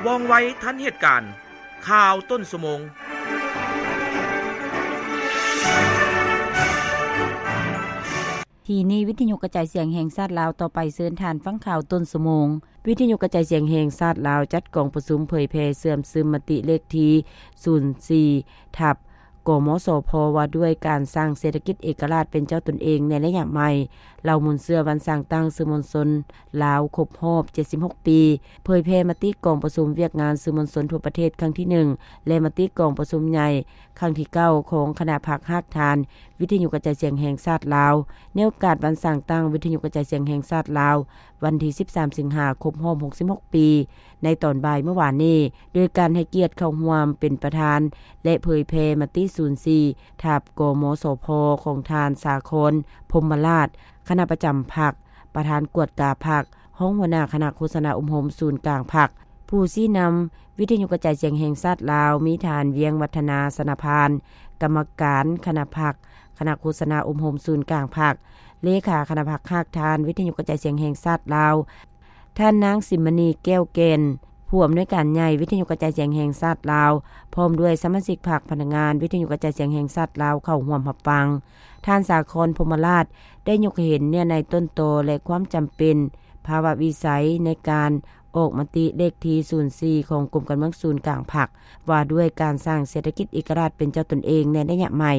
ວ່ອງໄວທັນເຫດການ. ຂ່າວຕົ້ນຊົ່ວໂມງ. ທີ່ນີ້ ວິທະຍຸກະຈາຍສຽງແຫ່ງຊາດລາວ. ຕໍ່ໄປເຊີນທ່ານຟັງຂ່າວຕົ້ນຊົ່ວໂມງ. ວິທະຍຸກະຈາຍສຽງແຫ່ງຊາດລາວ ຈັດກອງປະຊຸມເຜີຍແຜ່ເຊື່ອມຊຶມມະຕິເລກທີສູນສີ່ ທັບ ກມສພ ວ່າດ້ວຍການສ້າງເສດຖະກິດເອກະລາດເປັນເຈົ້າຕົນເອງໃນໄລຍະໃໝ່. ເຫຼົ່າມູນເຊື້ອວັນສ້າງຕັ້ງສື່ມວນຊົນລາວຄົບຮອບເຈັດສິບຫົກປີ, ເຜີຍແຜ່ມະຕິກອງປະຊຸມວຽກງານສື່ມວນຊົນທົ່ວປະເທດຄັ້ງທີໜຶ່ງ ແລະ ມະຕິກອງປະຊຸມໃຫຍ່ຄັ້ງທີເກົ້າຂອງຄະນະພັກຮາກຖານ ວິທະຍຸກະຈາຍສຽງແຫ່ງຊາດລາວ ໃນໂອກາດວັນສ້າງຕັ້ງວິທະຍຸກະຈາຍສຽງແຫ່ງຊາດລາວ ວັນທີສິບສາມ ສິງຫາ ຄົບຮອບຫົກສິບຫົກປີ ໃນຕອນບ່າຍມື້ວານນີ້ ໂດຍການໃຫ້ກຽດເຂົ້າຮ່ວມເປັນປະທານ ແລະ ເຜີຍແຜ່ມະຕິສູນສີ່ ທັບ ກມສພ ຂອງທ່ານ ສາຄອນ ພົມມະລາດ ຄະນະປະຈຳພັກ, ປະທານກວດກາພັກ, ຮອງຫົວໜ້າຄະນະໂຄສະນາອົບຮົມສູນກາງພັກ. ຜູ້ຊີ້ນຳວິທະຍຸກະຈາຍສຽງແຫ່ງຊາດລາວ ມີທ່ານ ວຽງວັດທະນາ ຊະນະພານ ກຳມະການຄະນະພັກ, ຄະນະໂຄສະນາອົບຮົມສູນກາງພັກ, ເລຂາຄະນະພັກຮາກຖານວິທະຍຸກະຈາຍສຽງແຫ່ງຊາດລາວ, ທ່ານນາງ ສິມມະນີ ແກ້ວແກ່ນ ຜູ້ອຳນວຍການໃຫຍ່ວິທະຍຸກະຈາຍສຽງແຫ່ງຊາດລາວ, ພ້ອມດ້ວຍສະມາຊິກພັກ, ພະນັກງານວິທະຍຸກະຈາຍສຽງແຫ່ງຊາດລາວ ເຂົ້າຮ່ວມຮັບຟັງ. ທ່ານ ສາຄອນ ພົມມະລາດ ໄດ້ຍົກໃຫ້ເຫັນເນື້ອໃນຕົ້ນຕໍ ແລະ ຄວາມຈຳເປັນ ພາວະວິໄສໃນການອອກມະຕິເລກທີສູນສີ່ ຂອງກົມການເມືອງສູນກາງພັກ ວ່າດ້ວຍການສ້າງເສດຖະກິດເອກະລາດເປັນເຈົ້າຕົນເອງໃນໄລຍະໃໝ່,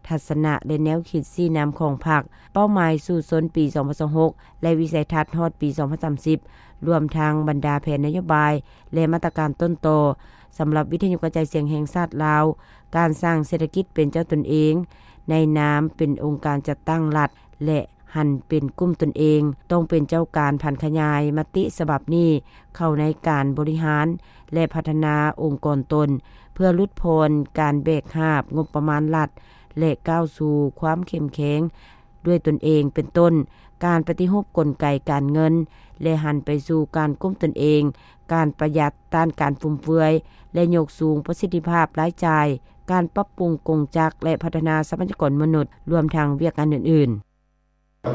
ທັດສະນະ ແລະ ແນວຄິດຊີ້ນຳຂອງພັກ, ເປົ້າໝາຍສູ້ຊົນປີສອງພັນຊາວຫົກ ແລະ ວິໄສທັດຮອດປີສອງພັນສາມສິບ ລວມທັງບັນດາແຜນນະໂຍບາຍ ແລະ ມາດຕະການຕົ້ນຕໍ ສຳລັບວິທະຍຸກະຈາຍສຽງແຫ່ງຊາດລາວ, ການສ້າງເສດຖະກິດເປັນເຈົ້າຕົນເອງ ໃນນາມເປັນອົງການຈັດຕັ້ງລັດ ແລະ ຫັນເປັນກຸ່ມຕົນເອງ, ຕ້ອງເປັນເຈົ້າການຜັນຂະຫຍາຍມະຕິສະບັບນີ້ເຂົ້າໃນການບໍລິຫານ ແລະ ພັດທະນາອົງກອນຕົນ ເພື່ອຫຼຸດຜ່ອນການແບກຫາບງົບປະມານລັດ ແລະ ກ້າວສູ່ຄວາມເຂັ້ມແຂງດ້ວຍຕົນເອງ, ເປັນຕົ້ນ ການປະຕິຮູບກົນໄກການເງິນ ແລະ ຫັນໄປສູ່ການກຸ້ມຕົນເອງ, ການປະຢັດ, ຕ້ານການຟຸມເຟືອຍ ແລະ ຍົກສູງປະສິດທິພາບລາຍຈ່າຍ, ການປັບປຸງກົງຈັກ ແລະ ພັດທະນາຊັບພະຍາກອນມະນຸດ, ລວມທັງວຽກງານອື່ນໆ.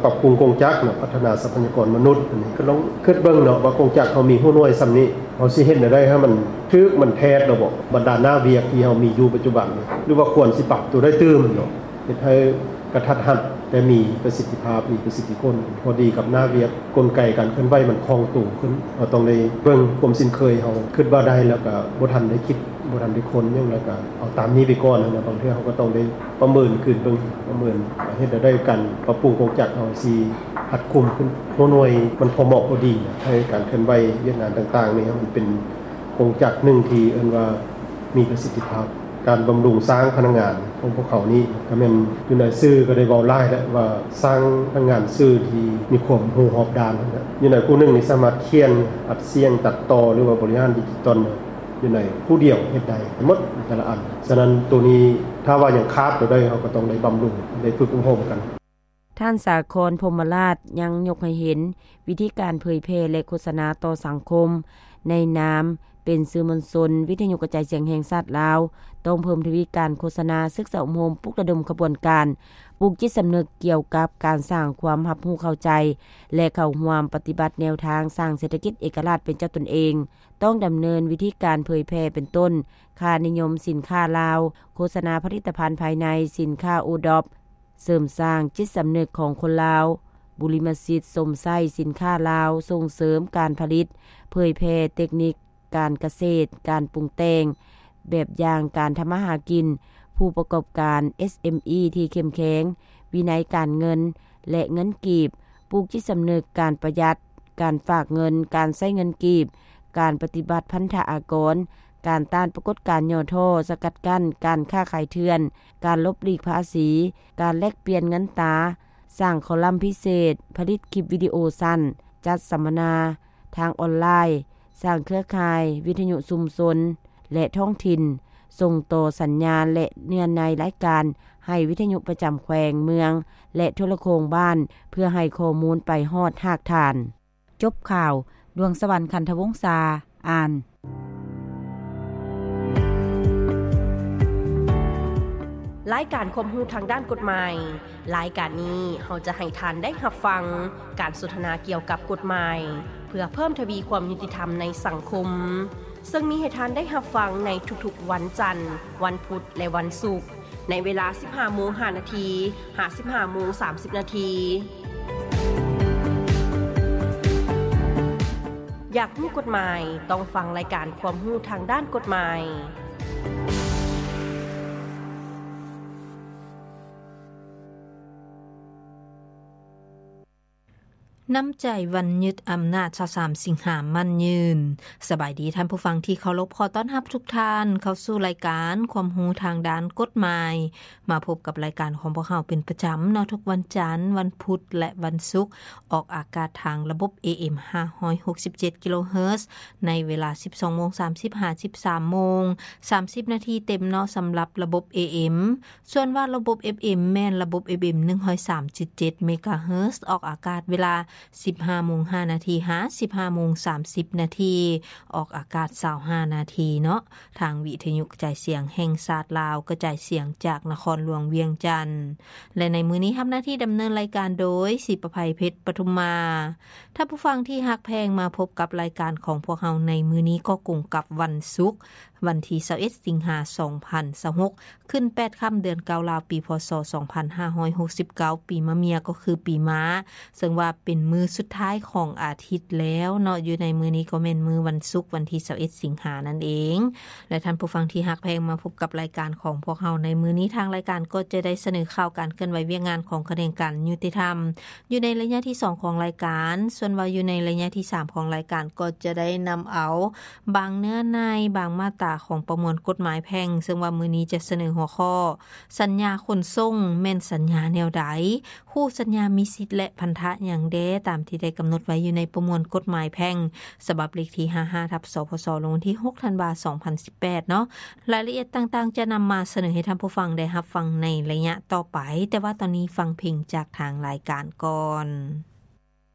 ປັບປຸງກົງຈັກເນາະ, ພັດທະນາຊັບພະຍາກອນມະນຸດ, ອັນນີ້ກໍລອງຄິດເບິ່ງເນາະ ວ່າກົງຈັກເຮົາມີຮູ້ໜ່ວຍສ່ຳນີ້, ເຮົາຊິເຮັດແນວໃດໃຫ້ມັນຖືກ ມັນແທດລະບໍ? ບັນດາໜ້າວຽກທີ່ເຮົາມີຢູ່ປັດຈຸບັນນີ້ ຫຼືວ່າຄວນຊິປັບຕົວໃດຕື່ມເນາະ, ເຮັດໃຫ້ກະທັດຮັດ ແຕ່ມີປະສິດທິພາບ, ມີປະສິດທິຜົນ, ພໍດີກັບໜ້າວຽກ, ກົນໄກການເຄື່ອນໄຫວມັນຄ່ອງໂຕຂຶ້ນ. ເຮົາຕ້ອງໄດ້ເບິ່ງຄວາມຊິນເຄີຍເຮົາ, ຄິດວ່າໄດ້ແລ້ວກະບໍ່ທັນໄດ້ຄິດ, ບໍ່ທັນໄດ້ຄົ້ນຫຍັງ, ແລ້ວກະເອົາຕາມນີ້ໄປກ່ອນ. ບາງເທື່ອເຮົາກໍຕ້ອງໄດ້ປະເມີນຄືນເບິ່ງ, ປະເມີນເຮັດແນວໃດການປັບປຸງກົງຈັກເຮົາຊິຮັດກຸມຂຶ້ນ, ຫົວໜ່ວຍມັນພໍເໝາະພໍດີ, ໃຫ້ການເຄື່ອນໄຫວວຽກງານຕ່າງໆນີ້ ໃຫ້ມັນເປັນກົງຈັກໜຶ່ງທີ່ເອີ້ນວ່າມີປະສິດທິພາບ. ການບຳລຸງສ້າງພະນັກງານຂອງພວກເຂົານີ້ ກໍແມ່ນຢູ່ໃນສື່ກໍໄດ້ເວົ້າຫຼາຍແລ້ວວ່າ ສ້າງພະນັກງານສື່ທີ່ມີຄວາມຮູ້ຮອບດ້ານຫັ້ນນະ. ຢູ່ໃນຜູ້ໜຶ່ງນີ້ສາມາດຂຽນ, ອັດສຽງ, ຕັດຕໍ່ ຫຼືວ່າບໍລິຫານດິຈິຕອນ ຢູ່ໃນຜູ້ດຽວເຮັດໄດ້ໝົດແຕ່ລະອັນ. ສະນັ້ນ ໂຕນີ້ຖ້າວ່າຍັງຂາດໂຕໃດ ເຮົາກໍຕ້ອງໄດ້ບຳລຸງ, ໄດ້ຝຶກອົບຮົມກັນ. ທ່ານ ສາຄອນ ພົມມະລາດ ຍັງຍົກໃຫ້ເຫັນວິທີການເຜີຍແຜ່ ແລະ ໂຄສະນາຕໍ່ສັງຄົມ ໃນນາມເປັນສື່ມວນຊົນ ວິທະຍຸກະຈາຍສຽງແຫ່ງຊາດລາວ ຕ້ອງເພີ່ມທະວີການໂຄສະນາ, ສຶກສາອົບຮົມ, ປຸກລະດົມຂະບວນການ, ປູກຈິດສຳນຶກກ່ຽວກັບການສ້າງຄວາມຮັບຮູ້ເຂົ້າໃຈ ແລະ ເຂົ້າຮ່ວມປະຕິບັດແນວທາງສ້າງເສດຖະກິດເອກະລາດເປັນເຈົ້າຕົນເອງ. ຕ້ອງດຳເນີນວິທີການເຜີຍແຜ່ ເປັນຕົ້ນ ຄ່ານິຍົມສິນຄ້າລາວ, ໂຄສະນາຜະລິດຕະພັນພາຍໃນ, ສິນຄ້າໂອດອບ, ເສີມສ້າງຈິດສຳນຶກຂອງຄົນລາວ, ບຸລິມະສິດຊົມໃຊ້ສິນຄ້າລາວ, ສົ່ງເສີມການຜະລິດ, ເຜີຍແຜ່ເຕັກນິກການກະເສດ, ການປຸງແຕ່ງ, ແບບຢ່າງການທຳມາຫາກິນ, ຜູ້ປະກອບການ ເອສເອັມອີ ທີ່ເຂັ້ມແຂງ, ວິໄນການເງິນ ແລະ ເງິນກີບ, ປູກຈິດສຳນຶກການປະຢັດ, ການຝາກເງິນ, ການໃຊ້ເງິນກີບ, ການປະຕິບັດພັນທະອາກອນ, ການຕ້ານປາກົດການຫຍໍ້ທໍ້, ສະກັດກັ້ນການຄ້າຂາຍເຖື່ອນ, ການຫຼົບຫຼີກພາສີ, ການແລກປ່ຽນເງິນຕາ, ສ້າງຄອລຳພິເສດ, ຜະລິດຄລິບວິດີໂອສັ້ນ, ຈັດສຳມະນາທາງອອນລາຍ, ສ້າງເຄືອຂ່າຍວິທະຍຸຊຸມຊົນ ແລະ ທ້ອງຖິ່ນ, ສົ່ງຕໍ່ສັນຍານ ແລະ ເນື້ອໃນລາຍການໃຫ້ວິທະຍຸປະຈຳແຂວງ, ເມືອງ ແລະ ໂທລະໂຄ່ງບ້ານ ເພື່ອໃຫ້ຂໍ້ມູນໄປຮອດຮາກຖານ. ຈົບຂ່າວ, ດວງສະຫວັນ ຂັນທະວົງສາ ອ່ານ. ລາຍການຄວາມຮູ້ທາງດ້ານກົດໝາຍ. ລາຍການນີ້ເຮົາຈະໃຫ້ທ່ານໄດ້ຮັບຟັງການສົນທະນາກ່ຽວກັບກົດໝາຍ ເພື່ອເພີ່ມທະວີຄວາມຍຸຕິທຳໃນສັງຄົມ. ເຊິ່ງມີໃຫ້ທ່ານໄດ້ຮັບຟັງໃນທຸກໆວັນຈັນ, ວັນພຸດ ແລະ ວັນສຸກ, ໃນເວລາສິບຫ້າໂມງຫ້ານາທີ ຫາ ສິບຫ້າໂມງສາມສິບນາທີ. ຢາກຮູ້ກົດໝາຍ? ຕ້ອງຟັງລາຍການຄວາມຮູ້ທາງດ້ານກົດໝາຍ. ນ້ຳໃຈວັນຍຶດອຳນາດຊາວສາມສິງຫາໝັ້ນຍືນ. ສະບາຍດີທ່ານຜູ້ຟັງທີ່ເຄົາລົບ, ຂໍຕ້ອນຮັບທຸກທ່ານເຂົ້າສູ່ລາຍການຄວາມຮູ້ທາງດ້ານກົດໝາຍ. ມາພົບກັບລາຍການຂອງພວກເຮົາເປັນປະຈຳເນາະ, ທຸກວັນຈັນ, ວັນພຸດ ແລະ ວັນສຸກ, ອອກອາກາດທາງລະບົບ ເອເອັມ ຫ້າຮ້ອຍຫົກສິບເຈັດກິໂລເຮີດ ໃນເວລາສິບສອງໂມງສາມສິບ ຫາ ສິບສາມໂມງສາມສິບນາທີເຕັມເນາະ, ສຳລັບລະບົບ ເອເອັມ. ສ່ວນວ່າລະບົບ ເອຟເອັມ ແມ່ນລະບົບ ເອຟເອັມ ໜຶ່ງຮ້ອຍສາມຈຸດເຈັດເມກາເຮີດ ອອກອາກາດເວລາສິບຫ້າໂມງຫ້ານາທີ ຫາ ສິບຫ້າໂມງສາມສິບນາທີ, ອອກອາກາດຊາວຫ້ານາທີເນາະ. ທາງວິທະຍຸກະຈາຍສຽງແຫ່ງຊາດລາວ ກະຈາຍສຽງຈາກນະຄອນຫຼວງວຽງຈັນ ແລະ ໃນມື້ນີ້ຮັບໜ້າທີ່ດຳເນີນລາຍການໂດຍ ສີປະໄພ ເພັດປະທຸມມາ. ທ່ານຜູ້ຟັງທີ່ຮັກແພງ, ມາພົບກັບລາຍການຂອງພວກເຮົາໃນມື້ນີ້ກໍກົງກັບວັນສຸກ ວັນທີຊາວເອັດ ສິງຫາ ສອງພັນຊາວຫົກ ຂຶ້ນແປດຄ່ຳ ເດືອນເກົ້າລາວ ປີ ພ.ສ. ສອງພັນຫ້າຮ້ອຍຫົກສິບເກົ້າ ປີມະເມຍ ກໍຄືປີມ້າ, ເຊິ່ງວ່າເປັນມື້ສຸດທ້າຍຂອງອາທິດແລ້ວເນາະ. ຢູ່ໃນມື້ນີ້ກໍແມ່ນມື້ວັນສຸກ ວັນທີຊາວເອັດ ສິງຫານັ້ນເອງ. ແລະ ທ່ານຜູ້ຟັງທີ່ຮັກແພງ, ມາພົບກັບລາຍການຂອງພວກເຮົາໃນມື້ນີ້, ທາງລາຍການກໍຈະໄດ້ສະເໜີຂ່າວການເຄື່ອນໄຫວວຽກງານຂອງຂະແໜງການຍຸຕິທຳ ຢູ່ໃນໄລຍະທີສອງຂອງລາຍການ. ສ່ວນວ່າຢູ່ໃນໄລຍະທີສາມຂອງລາຍການ ກໍຈະໄດ້ນຳເອົາບາງເນື້ອໃນ, ບາງມາດຕາຂອງປະມວນກົດໝາຍແພ່ງ, ເຊິ່ງວ່າມື້ນີ້ຈະສະເໜີຫົວຂໍ້ ສັນຍາຂົນສົ່ງແມ່ນສັນຍາແນວໃດ? ຄູ່ສັນຍາມີສິດ ແລະ ພັນທະຫຍັງແດ່ ຕາມທີ່ໄດ້ກຳນົດໄວ້ຢູ່ໃນປະມວນກົດໝາຍແພ່ງ ສະບັບເລກທີຫ້າຫ້າ ທັບ ສພສ ລົງວັນທີຫົກ ທັນວາ ສອງພັນສິບແປດເນາະ. ລາຍລະອຽດຕ່າງໆຈະນຳມາສະເໜີໃຫ້ທ່ານຜູ້ຟັງໄດ້ຮັບຟັງໃນໄລຍະຕໍ່ໄປ, ແຕ່ວ່າຕອນນີ້ຟັງເພງຈາກທາງລາຍການກ່ອນ.